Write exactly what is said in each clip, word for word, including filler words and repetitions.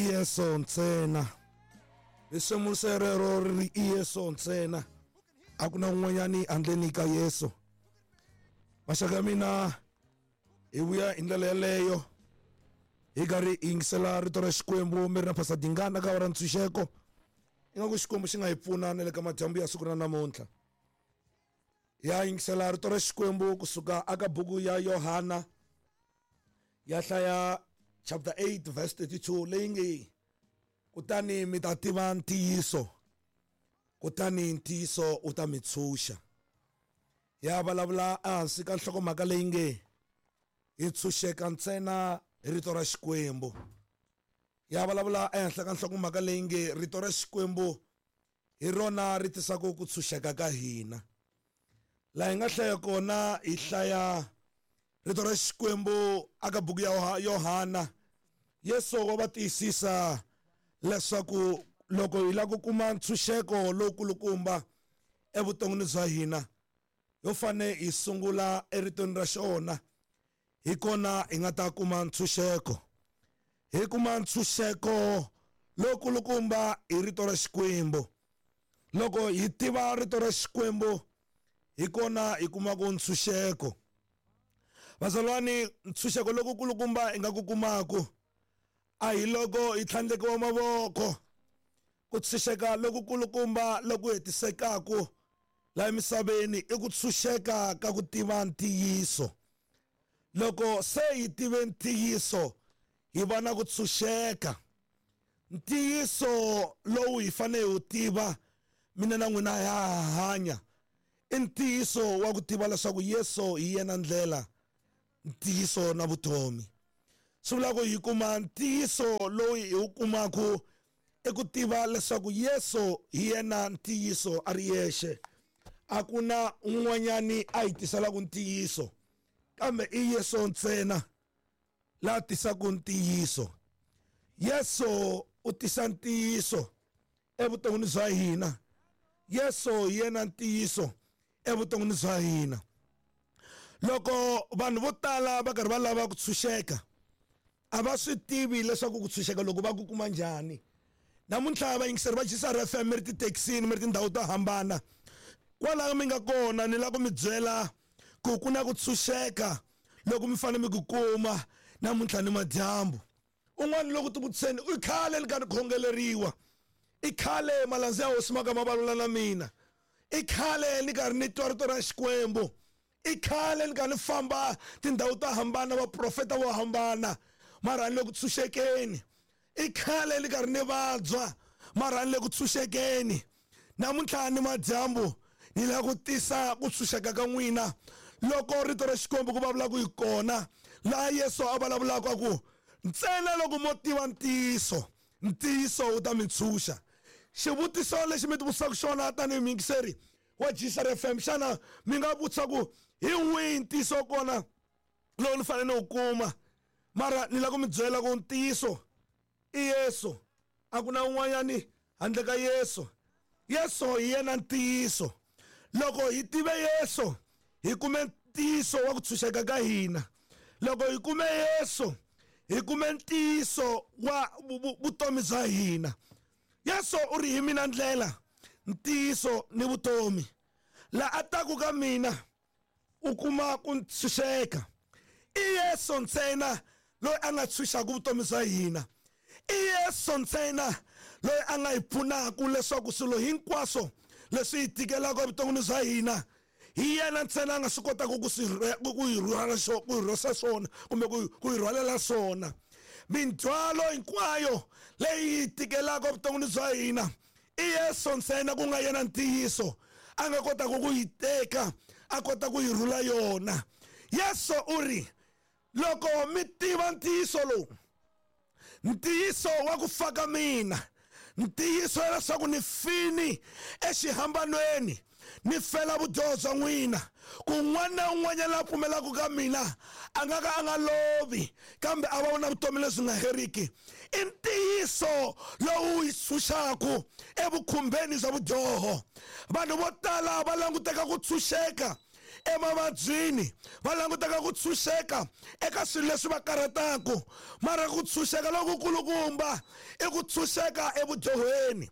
Yesu ntsena. Risimu rero ri i Yesu ntsena, a ku na un'wanyani handleni ka Yesu. Maxaka ya mina, hi vuya hi ndlela yeleyo hi karhi hi yingisela rito ra Xikwembu. Mi ri na Pastor Dingana ka ra ntshunxeko. Ingaku Xikwembu xi nga hi pfuna na le ka madyambu ya siku ra namuntlha. Ya yingisela rito ra Xikwembu kusuka aka buku ya Yohana ya hlaya chapter eight verse thirty-two leyi nge kutani mi ta tiva ntiyiso, kutani ntiyiso wu ta mi tshunxa. Ya vulavula ehansi ka nhlokomhaka leyi nge hi tshunxeka ntsena hi rito ra Xikwembu. Ya vulavula ehenhla ka nhlokomhaka leyi nge rito ra Xikwembu hi rona ri tisaka ku tshunxeka ka hina. Laha hi nga hlaya kona hi hlaya rito ra Xikwembu aka buku ya Yohana. Yesu wa va tiyisisa leswaku loko hi lava ku kuma ntshunxeko lowukulukumba evuton'wini bya hina, ho fane hi sungula eritweni ra xona, hi kona hi nga ta kuma ntshunxeko. Hi kuma ntshunxeko lowukulukumba hi rito ra Xikwembu. Loko hi tiva rito ra Xikwembu, hi kona hi kumaka ntshunxeko. Bazalwane, ntshunxeko lowukulukumba hi nga ku kumaka a hi loko hi tlhandlekiwa mavoko. Ku tshunxeka lokukulukumba loku hetisekaka laha emisaveni i ku tshunxeka ka ku tiva ntiyiso. Loko se hi tive ntiyiso, hi va na ku tshunxeka. Ntiyiso lowu hi fanele hi wu tiva, mina na n'wina ha hanya, i ntiyiso wa ku tiva leswaku Yesu hi yena ndlela, ntiyiso na vutomi. Swi vula ku hi kuma ntiyiso lowu hi wu kumaka i ku tiva leswaku Yesu hi yena ntiyiso a ri yexe. A ku na un'wanyani a hi tiselaka ntiyiso, kambe i Yesu ntsena la tisaka ntiyiso. Yesu u tisa ntiyiso evuton'wini bya hina. Yesu hi yena ntiyiso evuton'wini bya hina. Loko vanhu vo tala va karhi va lava ku tshunxeka, a va swi tivi leswaku ku tshunxeka loko va ku kuma njhani. Namuntlha vayingiseri va G C R F M mi ri tithekisini, mi ri tindhawu to hambana, kwalaho mi nga kona ni lava ku mi byela ku ku na ku tshunxeka loko mi fanele mi ku kuma namuntlha ni madyambu. Un'wana loko tivutiseni, i khale ni karhi khongeleriwa, i khale malandza ya hosi ma ka ma vulavula na mina, i khale ni karhi ni twa rito ra Xikwembu, i khale ni karhi ni famba tindhawu to hambana, vaprofeta vo hambana, mara ni le ku tshunxekeni. I khale ni karhi ni vabya, mara ni le ku tshunxekeni. Namuntlha ni madyambu ni lava ku tisa ku tshunxeka ka n'wina loko rito ra Xikwembu ku vulavula ku hi kona laha Yesu a vulavulaka ku ntsena loko mo tiva ntiyiso, ntiyiso wu ta mi tshunxa. Xivutiso lexi mi tivutisaka xona tanihi muyingiseri wa G C R F M, xana mi nga vutisa ku hi wihi ntiyiso kona lowu ni fanele ni wu kuma? Mara ni lava ku mi byela ku ntiyiso i Yesu, a ku na un'wanyani handle ka Yesu. Yesu hi yena ntiyiso. Loko hi tive Yesu, hi kume ntiyiso wa ku tshunxeka ka hina. Loko hi kume Yesu, hi kume ntiyiso wa vutomi bya hina. Yesu u ri hi mina ndlela, ntiyiso ni vutomi. La a taku ka mina u kuma ku tshunxeka. I Yesu ntsena loyi a nga tshunxaka vutomi bya hina. I Yesu ntsena loyi a nga hi pfunaka leswaku swilo hinkwaswo leswi hi tikelaka evuton'wini bya hina, hi yena ntsena a nga swi kotaka ku swi ku hi rhwala xo ku hi rhwesa swona kumbe ku ku hi rhwalela swona. Mindzhwalo hinkwayo leyi hi tikelaka evuton'wini bya hina, i Yesu ntsena ku nga yena ntiyiso a nga kotaka ku yi teka a kota ku yi rhula yona. Yesu u ri loko mi tiva ntiyiso lowu, ntiyiso wa ku fa ka mina, ntiyiso leswaku ni fini exihambanweni, ni fela vudyoho bya n'wina, ku un'wana na un'wanyana la pfumelaka ka mina a nga ka a nga lovi, kambe a va na vutomi lebyi nga heriki. I ntiyiso lowu hi tshunxaka evukhumbeni bya vudyoho. Vanhu vo tala va languteka ku tshunxeka emavabyini, va langutaka ku tshunxeka eka swilo leswi va karhataka. Mara ku tshunxeka lokukulukumba i ku tshunxeka evudyoheni.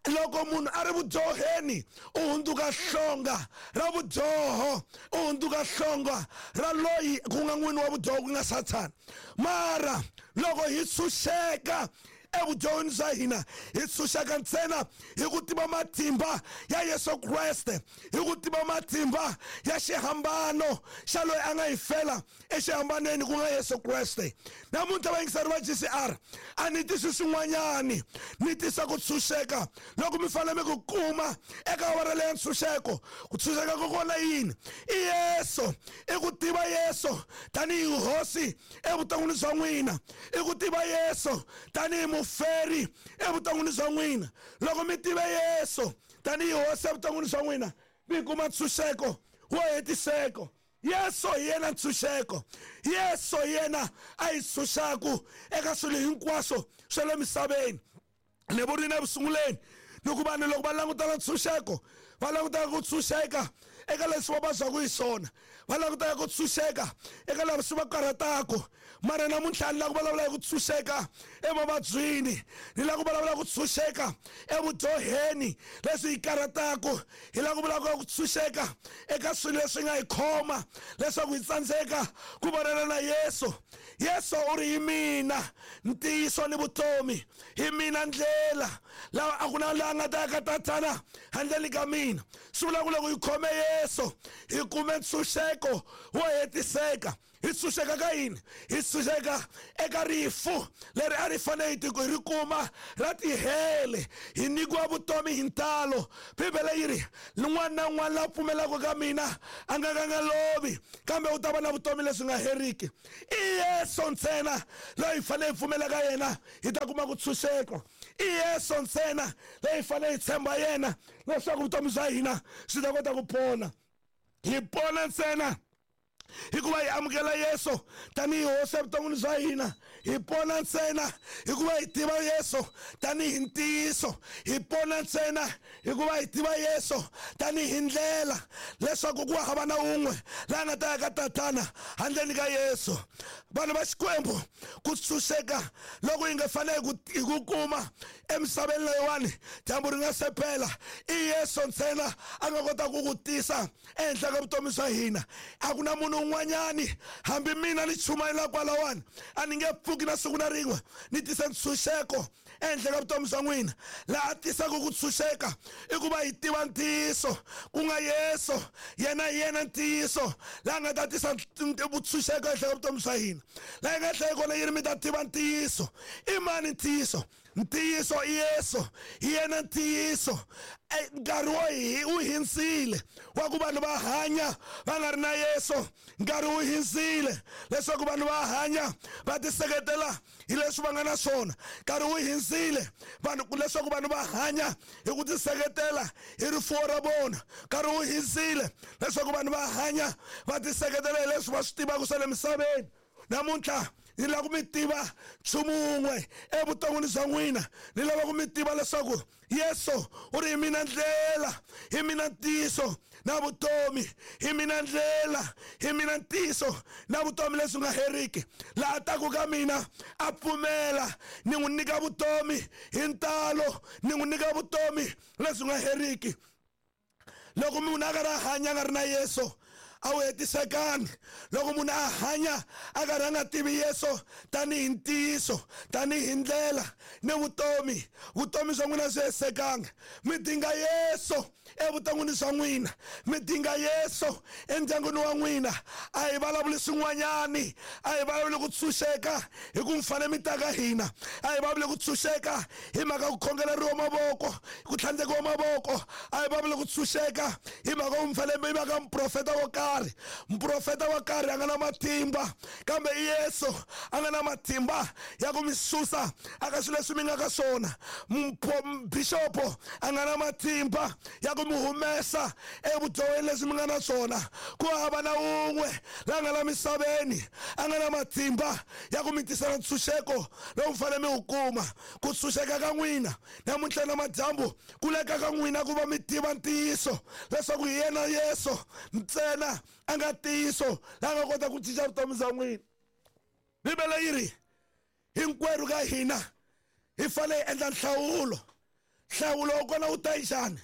Loko munhu a ri vudyoheni u hundzuka hlonga ra vudyoho, u hundzuka hlonga ra loyi ku nga n'wini wa vudyoho, ku nga Sathana. Mara loko hi tshunxeka evudyoheni bya hina, hi tshunxeka ntsena hi ku tiva matimba ya Yesu Kreste, hi ku tiva matimba ya xihambano xa loyi a nga hi fela exihambanweni, ku nga Yesu Kreste. Namuntlha vayingiseri va G C R, a ni tisi swin'wanyani, ni tisa ku tshunxeka loko mi fanele mi ku kuma eka awara leya ntshunxeko. Ku tshunxeka ko kona yini? I Yesu, i ku tiva Yesu tanihi hosi evuton'wini bya n'wina, i ku tiva Yesu tanihi muferi evuton'wini bya n'wina. Loko mi tive Yesu tanihi hosi evuton'wini bya n'wina, mi kuma ntshunxeko wo hetiseko. Yesu hi yena ntshunxeko. Yesu hi yena a hi tshunxaku eka swilo hinkwaswo swa le misaveni. Ni vurile ekusunguleni ni ku vanhu loko va langutana ntshunxeko, va langutana ku tshunxeka eka leswi va vabyaka hi swona, va langutaka ku tshunxeka eka leswi va karhataka. Mara namuntlha ni lava ku vulavula hi ku tshunxeka emavabyini, ni lava ku vulavula ku tshunxeka evudyoheni leswi hi karhataka, hi lava ku vulavula ku tshunxeka eka swilo leswi nga hi khoma leswaku hi tsandzeka ku vonana na Yesu. Yesu u ri hi mina ntiyiso ni vutomi, hi mina ndlela, laha a ku na laha nga ta ya ka Tatana handle ka mina. Swi vula ku loko hi khome Yesu hi kume ntshunxeko wo hetiseka. Hi tshunxeka ka yini? Hi tshunxeka eka rifu leri a ri fanele hi ri kuma ra tihele, hi nyikiwa vutomi hi ntalo. Bibele yi ri un'wana na un'wana la pfumelaka ka mina a nga ka nga lovi, kambe u ta va na vutomi lebyi nga heriki. I Yesu ntsena loyi hi fanele hi pfumela ka yena hi ta kuma ku tshunxeka. I Yesu ntsena loyi hi fanele hi tshemba yena leswaku vutomi bya hina swi ta kota ku pona. Hi pona ntsena hikuva hi amukela Yesu tanihi hosi evuton'wini bya hina. Hi pona ntsena hikuva hi tiva Yesu tanihi ntiyiso. Hi pona ntsena hikuva hi tiva Yesu tanihi ndlela, leswaku ku hava na un'we laha nga ta ya ka Tatana handleni ka Yesu. Vanhu va Xikwembu, ku tshunxeka loko hi nga fanele hi ku kuma emisaveni leyiwani dyambu ri nga se pela, i Yesu ntsena a nga kota ku ku tisa ehenhla ka vutomi bya hina. A ku na munhu un'wanyani, hambi mina ni chumayela kwalawani, a ni nge pfuki na siku na rin'we ni tisa ntshunxeko ehenhla ka vutomi bya n'wina. Laha tisaka ku tshunxeka i ku va hi tiva ntiyiso, ku nga Yesu. Yena hi yena ntiyiso laha nga ta tisa vutshunxeko ehenhla ka vutomi bya hina. Laha hi nga hlaya kona yi ri mi ta tiva ntiyiso. I mani ntiyiso? Ntiyiso i Yesu, hi yena ntiyiso. Nkarhi wo hi wu hindzile wa ku vanhu va hanya va nga ri na Yesu. Nkarhi wu hindzile leswaku vanhu va hanya va tiseketela hi leswi va nga na swona. Nkarhi wu hindzile vanhu leswaku vanhu va hanya hi ku tiseketela hi rifuwo ra vona. Nkarhi wu hindzile leswaku vanhu va hanya va tiseketela hi leswi va swi tivaka swa le misaveni. Namuntlha ni lava ku mi tiva nchumu wun'we evuton'wini bya n'wina. Ni lava ku mi tiva leswaku Yesu u ri hi mina ndlela, hi mina ntiyiso na vutomi, hi mina ndlela, hi mina ntiyiso na vutomi leswi nga heriki. Laha taku ka mina a pfumela, ni n'wi nyika vutomi hi ntalo, ni n'wi nyika vutomi leswi nga heriki. Loko munhu a karhi a hanya a nga ri na Yesu, a wu hetisekanga. Loko munhu a hanya a karhi a nga tivi Yesu tanihi ntiyiso, tanihi ndlela ni vutomi, vutomi bya n'wina byi hetisekanga. Mi dinga Yesu evuton'wini bya n'wina, mi dinga Yesu endyangwini wa n'wina. A hi vulavuli swin'wanyani, a hi vulavuli ku tshunxeka hi ku mi fanele mi ta ka hina, a hi vulavuli ku tshunxeka hi mhaka ku khongeleriwa mavoko, ku tlhandlekiwa mavoko, a hi vulavuli ku tshunxeka hi mhaka ku mi fanele mi va ka muprofeta wo karhi. Muprofeta wo karhi a nga na matimba, kambe Yesu a nga na matimba ya ku mi susa aka swilo leswi mi nga ka swona. Bishopo a nga na matimba ya ku mi humesa evudyoheni leswi mi nga na swona. Ku hava na un'we la nga la misaveni a nga na matimba ya ku mi tisela ntshunxeko lowu mi fanele mi wu kuma. Ku tshunxeka ka n'wina namuntlha na madyambu ku leka ka n'wina ku va mi tiva ntiyiso leswaku hi yena Yesu ntsena yena a nga ntiyiso la nga kota ku cinca vutomi bya n'wina. Bibele yi ri hinkwerhu ka hina hi fanele hi endla nhlawulo. Nhlawulo wa kona wu ta njhani?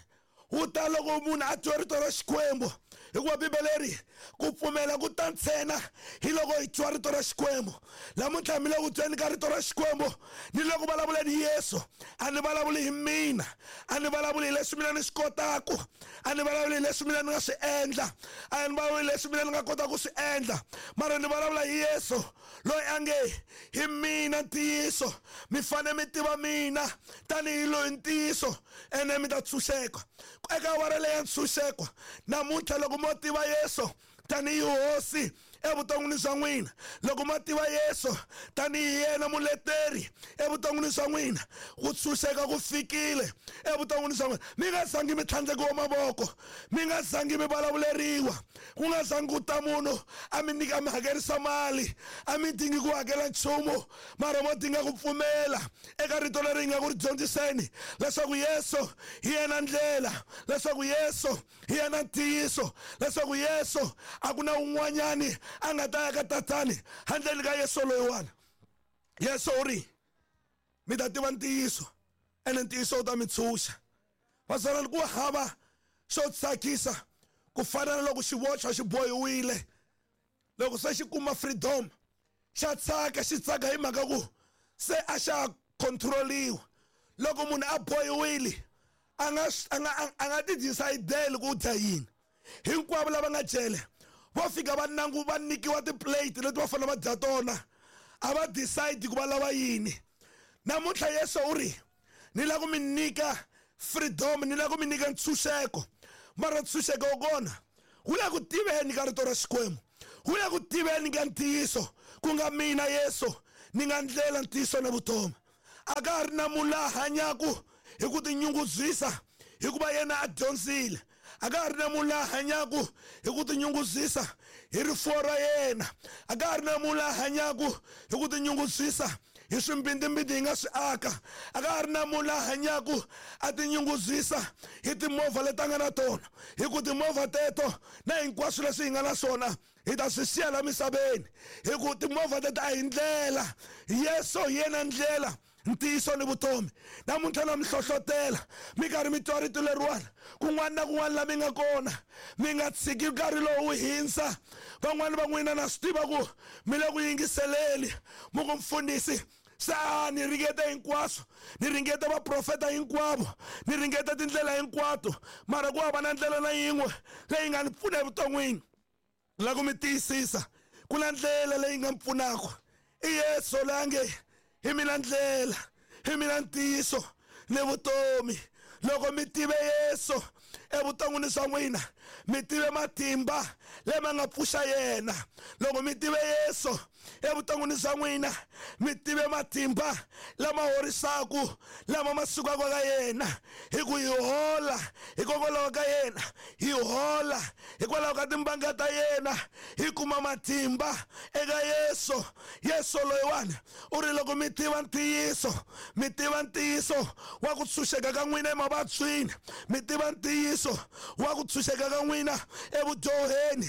Wu ta loko munhu a twa rito ra Xikwembu, hikuva Bibele ri ku pfumela ku ta ntsena hi loko hi twa rito ra Xikwembu. Namuntlha mi le ku tweni ka rito ra Xikwembu, ni loko vulavuleni hi Yesu, a ni vulavuli hi mina, a ni vulavuli hi leswi mina ni swi kotaku, a ni vulavuli hi leswi mina ni nga swi endla, a ni vulavuli hi leswi mina ni nga kota ku swi endla, mara ni vulavula hi Yesu loyi a nge hi mina ntiyiso, mi fane mi tiva mina tanihi loyi ntiyiso, ene mi ta tshunxeka. Eka awara leyi ya ntshunxeko namuntlha, loko mo tiva Yesu tanihi hosi evuton'wini bya n'wina, loko mo tiva Yesu tanihi yena muleteri evuton'wini bya n'wina, ku tshunxeka ku fikile evuton'wini bya n'wina. Mi nga zangi mi tlhandlekiwa mavoko, mi nga zangi mi vulavuleriwa, ku nga zangi ku ta munhu a mi nyika mi hakerisa mali, a mi dingi ku hakela nchumu, mara mo dinga ku pfumela eka rito leri hi nga ku ri dyondziseni, leswaku Yesu hi yena ndlela, leswaku Yesu hi yena ntiyiso, leswaku Yesu a ku na un'wanyani a nga ta ya ka tatani handleni ka Yesu loyiwani. Yesu u ri mi ta tiva ntiyiso, ene ntiyiso wu ta mi tshunxa. Vatswari, ku hava xo tsakisa ku fana na loko xivochwa xi bohiwile, loko se xi kuma freedom xa tsaka, xi tsaka hi mhaka ku se a xa control-iwa. Loko munhu a bohiwile a nga a nga a nga ti decide ku dya yini. Hinkwavo lava nga jele vo fika va nangu va nyikiwa ti-plate leti va fanele va dya tona, a va decide ku va lava yini. Namuntlha Yesu u ri ni lava ku mi nyika freedom, ni lava ku mi nyika ntshunxeko, mara ntshunxeko wa kona wu le ku tiveni ka rito ra Xikwembu, wu le ku tiveni ka ntiyiso, ku nga mina Yesu ni nga ndlela, ntiyiso na vutomi. A ka ha ri na munhu la hanyaku hi ku tinyungubyisa hikuva yena a dyondzile, a ka ha ri na munhu la hanyaku hi ku tinyungubyisa hi rifuwo ra yena, a ka ha ri na munhu la hanyaku hi ku tinyungubyisa hi swimbindzimbindzi hi nga swi aka, a ka ha ri na munhu la hanyaku a tinyungubyisa hi timovha leti a nga na tona, hi ku timovha teto na hinkwaswo leswi hi nga na swona hi ta swi siya la misaveni, hi ku timovha teto a hi ndlela. Yesu hi yena ndlela, ntiyiso ni vutomi. Namuntlha na mi hlohlotela mi karhi mi twa rito leriwani kun'wana na kun'wana la mi nga kona, mi nga tshiki nkarhi lowu wu hindza. Van'wani va n'wina na swi tiva ku mi le ku yingiseleni, mi ku mfundhisi se a ni ringete hinkwaswo, ni ringete vaprofeta hinkwavo, ni ringete tindlela hinkwato, mara ku hava na ndlela na yin'we leyi nga ni pfuna evuton'wini. La ku mi tiyisisa ku na ndlela leyi nga mi pfunaka, i Yesu loyi a nge hi mina ndlela, hi mina ntiyiso ni vutomi. Loko mi tive Yesu evuton'wini bya n'wina, mi tive matimba lama nga pfuxa yena. Loko mi tive Yesu evuton'wini bya n'wina, mi tive matimba lama horisaku, lama ma sukaka ka yena, hi ku hi hola hikokwalaho ka yena, hi hola hikwalaho ka timbanga ta yena, hi kuma matimba eka Yesu. Yesu loyiwani u ri loko mi tiva ntiyiso, mi tiva ntiyiso wa ku tshunxeka ka n'wina emavabyini, mi tiva ntiyiso wa ku tshunxeka ka n'wina evudyoheni.